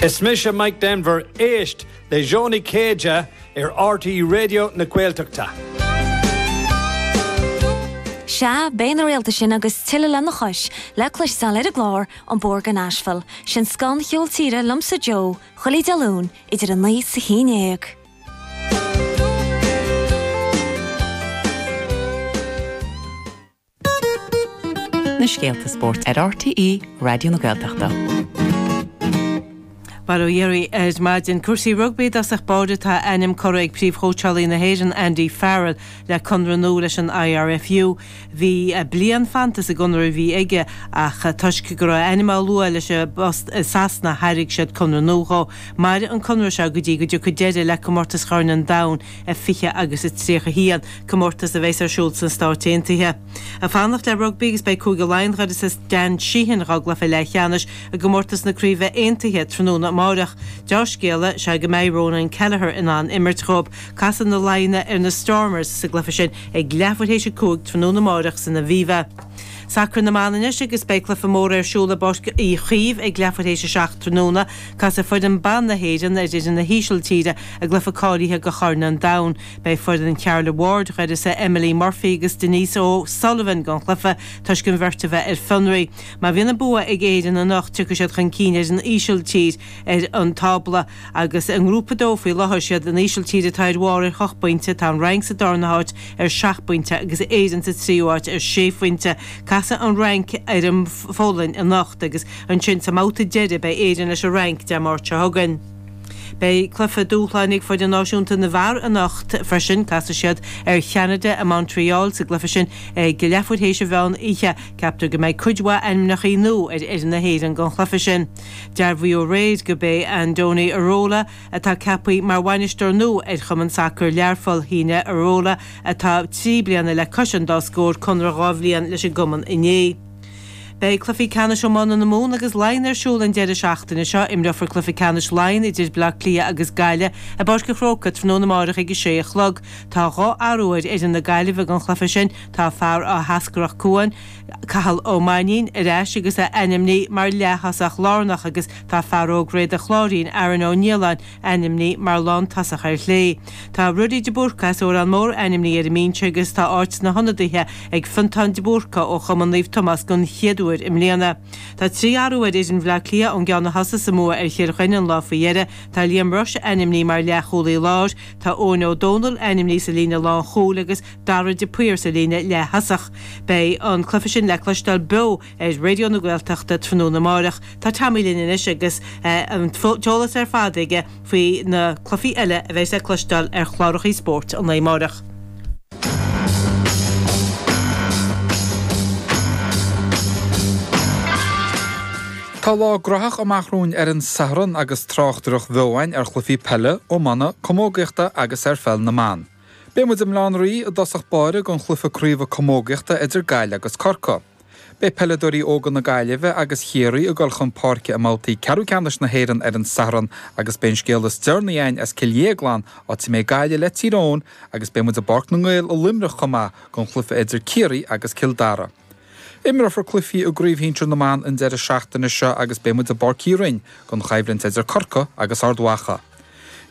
Is mise Mike Denver, éist le Joe Nic Céide ar RTÉ Raidió na Gaeltachta. Sea, beidh na réalta sin agus tuilleadh lena chois le cloisteáil ar an gclár An Bóthar go Nashville, sin scoth an cheoil tíre liomsa Joe, chuile Dé Luain idir 9 is 11. Na scéalta spóirt ar RTÉ Raidió na Gaeltachta. Bail ó Dhia oraibh ar maidin. Cúrsaí rugbaí i dtosach báire tá a ainm curtha ag príomhchóitseálaí na hÉireann Andy Farrell le conradh nua leis an IRFU. Bhí bliain fanta sa gconradh a bhí aige ach toisc go raibh a ainm á lua leis an bpost i Sasana thairg siad conradh nua dhó. Mairfidh an conradh seo go dtí go dtiocfaidh deireadh le Comórtas Chorn an Domhain i 20 agus 31, comórtas a bheas ar siúl sna Stáit Aontaithe. Ag fanacht le rugbaí agus beidh Cúige Laighean d'uireasa Dan Sheehan dhá gcluiche leathcheannais i gcomórtas na Craoibhe Aontaithe tráthnóna amáireach. Deá-scéala is ea go mbeidh Ronan Kelleher in ann imirt dhóibh. Casfaidh na Laighnigh ar na Stormers sa gcluiche sin ag leathuair théis a 5 tráthnóna amáireach san Aviva. Sacar na mban anois agus beidh cluiche mór ar siúl i bPáirc Uí Chaoimh ag leathuair théis a 7 tráthnóna. Casfaidh foireann ban na hÉireann ar fhoireann na hÍsiltíre i gcluiche cáilithe do Chorn an Domhain. Beidh foireann Charla Ward d'uireasa Emily Murphy agus Denise O'Sullivan gan chluiche toisc an bheirt a bheith ar fionraí. Má bhíonn an bua ag Éirinn anocht tiocfaidh siad chun cinn ar an Ísiltír ar an tábla agus i nGrúpa 2 faoi láthair siad an Ísiltír atá ar bharr ar hocht bpointe, tá an Fhrainc sa darna háit ar sheacht bpointe agus Éirinn sa tríú háit ar sé phointe. Casfaidh an Fhrainc ar an Pholainn anocht agus ansin sa mbabhta deiridh beidh Éirinn leis an Fhrainc Dé Máirt seo chugainn. Beidh cluiche dúshláin ag foireann náisiúnta na bhfear anocht freisin. Casfaidh siad ar Cheanada i Montreal sa gcluiche sin ag leathuair théis an mheán oíche. Ceaptar go mbeidh cuid mhaith ainmneacha nua ar fhoireann na hÉireann don chluiche sin. Dearbhaíodh aréir gurb é Andoni Iraola atá ceaptha mar bhainisteoir nua ar Chumann Sacair Learpholl. Shínigh Iraola, atá 3 bliana le cois an dá scór, conradh 2 bhliain leis an gcumann inné. Beidh cluichí ceannais iomána na Mumhan agus Laighean ar siúl an deireadh seachtaine seo. Imreofar cluiche ceannais Laighean idir Bleá Cliath agus Gaillimh i bPáirc an Chrócaigh tráthnóna amárach ag a sé a chlog. Tá 2 athrú ar fhoireann na Gaillimhe don chluiche sin. Tá fear Áth hEascarrach Cuain, Cathal Ó Mainnín, ar ais agus é ainmnithe mar leath-thosach lárnach agus tá fear óg Réad an Chláirín, Aaron Ó Nialláin, ainmnithe mar lántosach ar chlé. Tá Ruairí de Búrca as Órán Mór ainmnithe ar an mbinse agus tá áit sna hionadaithe ag Fiontán de Búrca ó Chumann Naomh Tomás don chéad uair i mbliana. Tá 3 athrú ar fhoireann Bhaile Átha Cliath ón gceann a thosaigh sa mbua ar Chill Chainnigh an lá faoi dheireadh. Tá Liam Rushe ainmnithe mar leathchúlaí láir, tá Eoin Ó Dónaill ainmnithe sa líne lánchúil agus Dara de Paor sa líne leath-thosach. Beidh an cluiche sin le cloisteáil beo ar Raidió na Gaeltachta tráthnóna amárach. Tá Tommy linn anois agus an t-eolas ar fad aige faoi na cluichí eile a bheidh le cloisteáil ar chlárachaí spóirt an lae amárach. Tá lá graitheach amach romhainn ar an Satharn agus tráchtaireacht bheo againn ar chluichí peile, iomána, camógaíochta agus ar pheil na mban. Beidh muid i mBaile Átha an Rí i dtosach báire don chluiche craoibhe camógaíochta idir Gaillimh agus Corcaigh. Beidh peileadóirí óga na Gaillimhe agus Chiarraí ag dul chun páirce i mbabhtaí ceathrú ceannais na hÉireann ar an Satharn agus beidh an scéal is deireanaí againn as Cill Dhéagláin, áit a mbeidh Gaillimh le Tír Eoghain agus beidh muid i bPáirc na nGael i Luimneach chomh maith don chluiche idir Ciarraí agus Cill Dara. Imreofar cluichí i gCraobh Shinsir na mBan an deireadh seachtaine seo agus beidh muid i bPáirc Uí Rinn don choimhlint idir Corcaigh agus Ard Mhacha.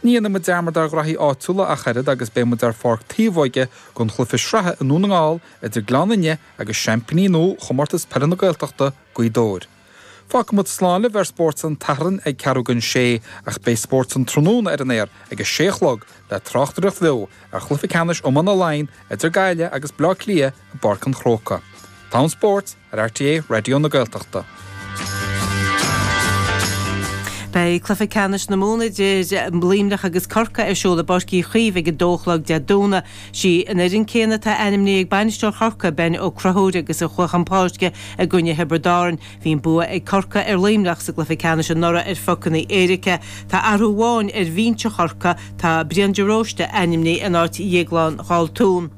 Ní dhéanfaidh muid dearmad ar ghraithí áitiúla ach oiread agus beidh muid ar Pháirc Taobhóige don chluiche sraithe i nDún na nGall idir Gleann Fhinne agus seaimpíní nua Chomórtas Peile na Gaeltachta, Gaoth Dobhair. Fágfaidh muid slán libh ar Spórt an tSathairn ag ceathrú don sé ach beidh Spórt an Tráthnóna ar an aer ag a sé a chlog le tráchtaireacht bheo ar chluiche ceannais iomána Laighean idir Gaillimh agus Bleá Cliath i bPáirc an Chrócaigh. T-am Spóirt ar RTÉ Raidió na Gaeltachta. Beidh cluiche ceannais na Mumhan idir Luimneach agus Corcaigh ar siúl i bPáirc Uí Chaoimh ag a dó a chlog Dé Domhnaigh. Sí an fhoireann céanna atá ainmnithe ag bainisteoir Chorcaí, Ben Ó Conchúir agus a chuaigh chun páirce i gcoinne Thiobraid Árann. Bhí an bua ag Corcaigh ar Luimneach sa gcluiche ceannais anuraidh ar phocanna éirice. Tá athrú amháin ar bhinse Chorcaí, tá Brian de Róiste ainmnithe in áit Dhéaglán Dhaltún.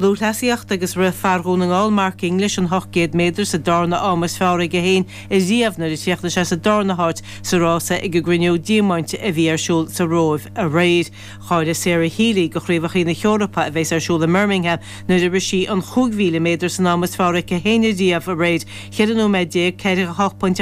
Lúthchleasaíocht agus rith fear Dhún na nGall Mark English an 800 méadar sa darna am is fearr aige féin ariamh nuair a chríochnaigh sé sa darna háit sa rása ag an gCruinniú Diamaint a bhí ar siúl sa Róimh aréir. Cháiligh Sarah Healy do Chraobhacha na hEorpa a bheas ar siúl i mBirmingham nuair a rith sí an 5,000 méadar san am is fearr aici féin ariamh aréir, 14 nóiméad 48.8.